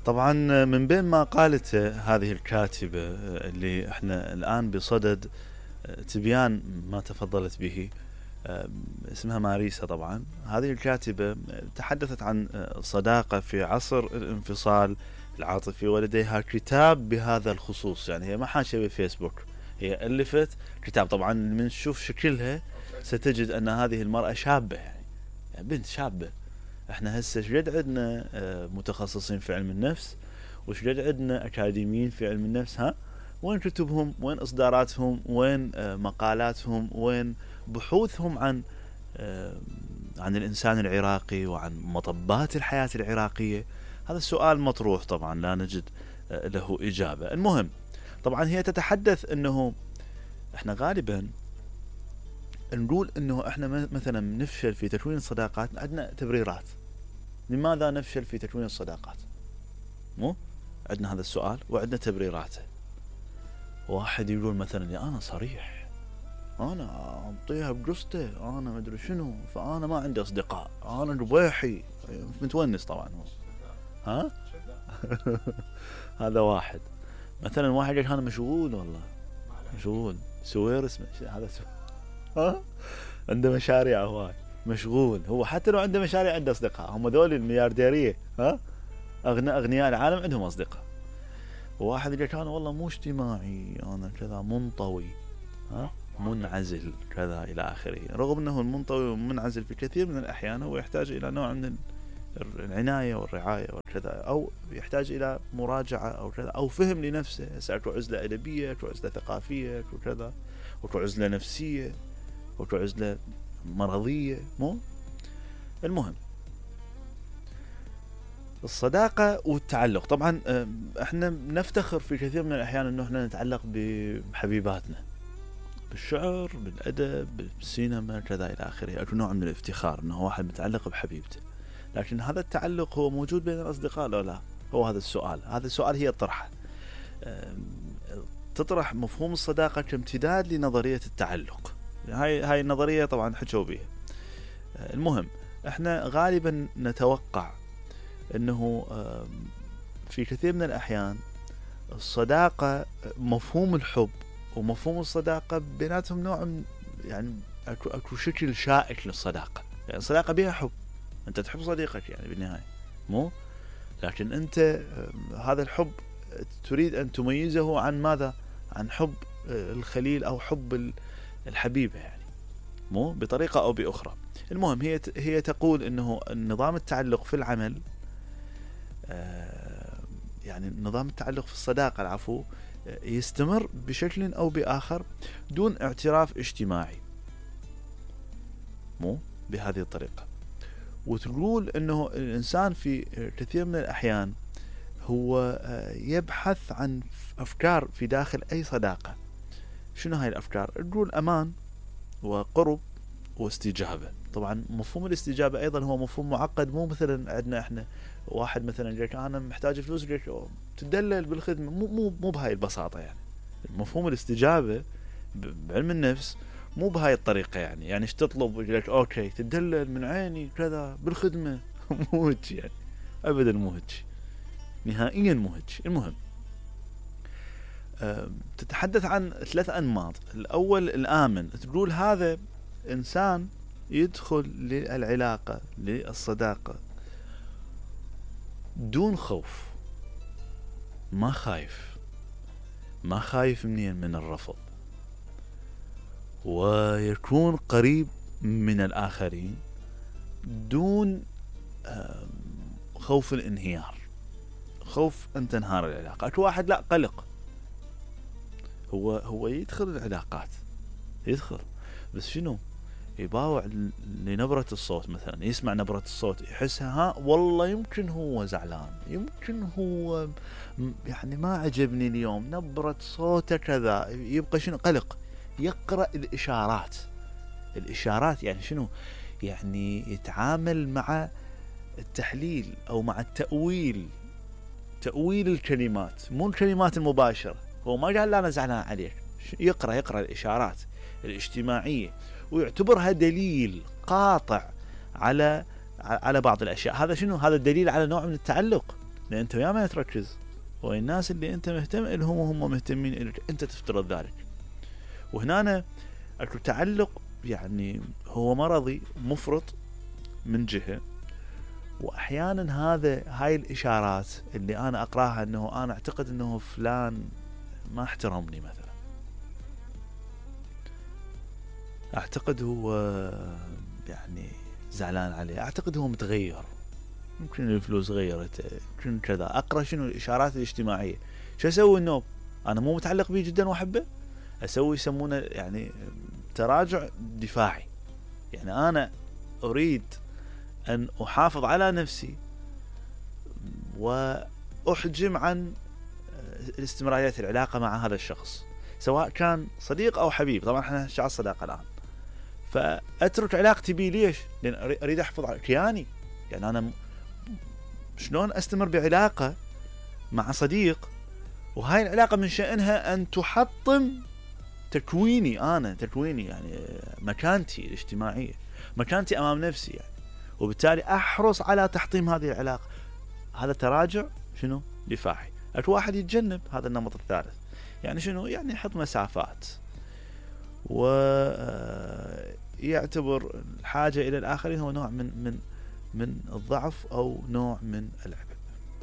طبعا من بين ما قالته هذه الكاتبة اللي احنا الآن بصدد تبيان ما تفضلت به، اسمها ماريسا. طبعا هذه الكاتبة تحدثت عن صداقة في عصر الانفصال العاطفي، ولديها كتاب بهذا الخصوص. يعني هي ما حاشة بفيسبوك، هي ألفت كتاب. طبعا من تشوف شكلها ستجد أن هذه المرأة شابة، يعني بنت شابة. احنا هسه شقد عندنا متخصصين في علم النفس، وشقد عندنا اكاديميين في علم النفس. وين كتبهم؟ وين اصداراتهم؟ وين مقالاتهم؟ وين بحوثهم عن الانسان العراقي وعن مطبات الحياة العراقية؟ هذا السؤال مطروح، طبعا لا نجد له اجابة. المهم، طبعا هي تتحدث انه احنا غالبا نقول انه احنا مثلا نفشل في تكوين الصداقات، عندنا تبريرات. لماذا نفشل في تكوين الصداقات؟ مو عندنا هذا السؤال وعندنا تبريراته. واحد يقول مثلا يا انا صريح، انا اعطيها بقصته، انا ما ادري شنو، فانا ما عندي اصدقاء، انا ربيحي متونس. طبعا هو هذا واحد. مثلا واحد يقول انا مشغول، والله مشغول، سويرس هذا عنده مشاريع هواي، مشغول. هو حتى لو عنده مشاريع عنده اصدقاء. هم ذول المليارديريه، اغنياء العالم عندهم اصدقاء. وواحد يقول انا والله مو اجتماعي، انا كذا منطوي، منعزل كذا الى اخره. رغم انه المنطوي والمنعزل في كثير من الاحيان هو يحتاج الى نوع من العنايه والرعايه وكذا، او يحتاج الى مراجعه او كذا، او فهم لنفسه. اكو عزله ادبيه، اكو عزله ثقافيه، اكو كذا، اكو عزله نفسيه، اكو عزله مرضيه. مو المهم، الصداقة والتعلق. طبعا احنا نفتخر في كثير من الاحيان انه احنا نتعلق بحبيباتنا، بالشعر، بالادب، بالسينما كذا الى اخره. اكو نوع من الافتخار انه واحد متعلق بحبيبته. لكن هذا التعلق هو موجود بين الاصدقاء لو لا؟ هو هذا السؤال. هذا السؤال هي طرحه، تطرح مفهوم الصداقة كامتداد لنظرية التعلق. هاي النظرية طبعا حكوا بها. المهم، احنا غالبا نتوقع انه في كثير من الاحيان الصداقة، مفهوم الحب ومفهوم الصداقة بيناتهم نوع من، يعني اكو شكل شائك للصداقة. يعني الصداقة بها حب، انت تحب صديقك يعني بالنهاية، مو؟ لكن انت هذا الحب تريد ان تميزه عن ماذا؟ عن حب الخليل او حب الحبيبة، يعني مو بطريقة او باخرى. المهم، هي تقول انه نظام التعلق في العمل، يعني نظام التعلق في الصداقة العفو، يستمر بشكل او باخر دون اعتراف اجتماعي، مو بهذه الطريقة. وتقول انه الانسان في كثير من الاحيان هو يبحث عن افكار في داخل اي صداقة. شنو هاي الافكار؟ تقول امان وقرب واستجابة. طبعا مفهوم الاستجابة ايضا هو مفهوم معقد. مو مثلا عندنا احنا واحد مثلا يقولك انا محتاج فلوس، يقولك تدلل بالخدمة. مو بهاي البساطة. يعني مفهوم الاستجابة بعلم النفس مو بهاي الطريقة. يعني ايش تطلب؟ يقولك اوكي تدلل من عيني كذا بالخدمة. مو هيك يعني، ابدا مو هيك، نهائيا مو هيك. المهم، تتحدث عن 3 أنماط. الأول الآمن. تقول هذا إنسان يدخل للعلاقة، للصداقة دون خوف، ما خايف من الرفض، ويكون قريب من الآخرين دون خوف الانهيار، خوف أن تنهار العلاقة. أكو واحد لا، قلق، هو يدخل العلاقات، يدخل بس شنو؟ يباوع لنبرة الصوت. مثلا يسمع نبرة الصوت يحسها والله يمكن هو زعلان، يمكن هو يعني ما عجبني اليوم نبرة صوته كذا. يبقى شنو؟ قلق. يقرأ الإشارات. يعني شنو؟ يعني يتعامل مع التحليل أو مع تأويل الكلمات، مو الكلمات المباشرة. هو ما قال لا أنا زعلان عليك، يقرأ الإشارات الاجتماعية، ويعتبرها دليل قاطع على على بعض الاشياء. هذا شنو؟ هذا الدليل على نوع من التعلق، لان انت ويا ما تركز والناس اللي انت مهتم لهم وهم مهتمين لك، انت تفترض ذلك. وهنا اكو تعلق يعني هو مرضي مفرط من جهة، واحيانا هاي الاشارات اللي انا اقراها انه انا اعتقد انه فلان ما احترمني مثلا، اعتقد هو يعني زعلان عليه، اعتقد هو متغير، يمكن الفلوس غيرته، يمكن كذا. اقرا شنو الاشارات الاجتماعيه. شو اسوي؟ انه انا مو متعلق به جدا واحبه، اسوي يسمونه يعني تراجع دفاعي. يعني انا اريد ان احافظ على نفسي واحجم عن الاستمرارية العلاقة مع هذا الشخص، سواء كان صديق او حبيب. طبعا احنا شعار الصداقة الان، فاترك علاقتي بيه. ليش؟ لان اريد احافظ على كياني. يعني انا شلون استمر بعلاقة مع صديق وهاي العلاقة من شأنها ان تحطم تكويني يعني مكانتي الاجتماعية، مكانتي امام نفسي يعني، وبالتالي احرص على تحطيم هذه العلاقة. هذا تراجع شنو؟ دفاعي. اكو واحد يتجنب هذا النمط الثالث، يعني شنو؟ يعني يحط مسافات ويعتبر الحاجة الى الاخرين هو نوع من الضعف او نوع من العبء.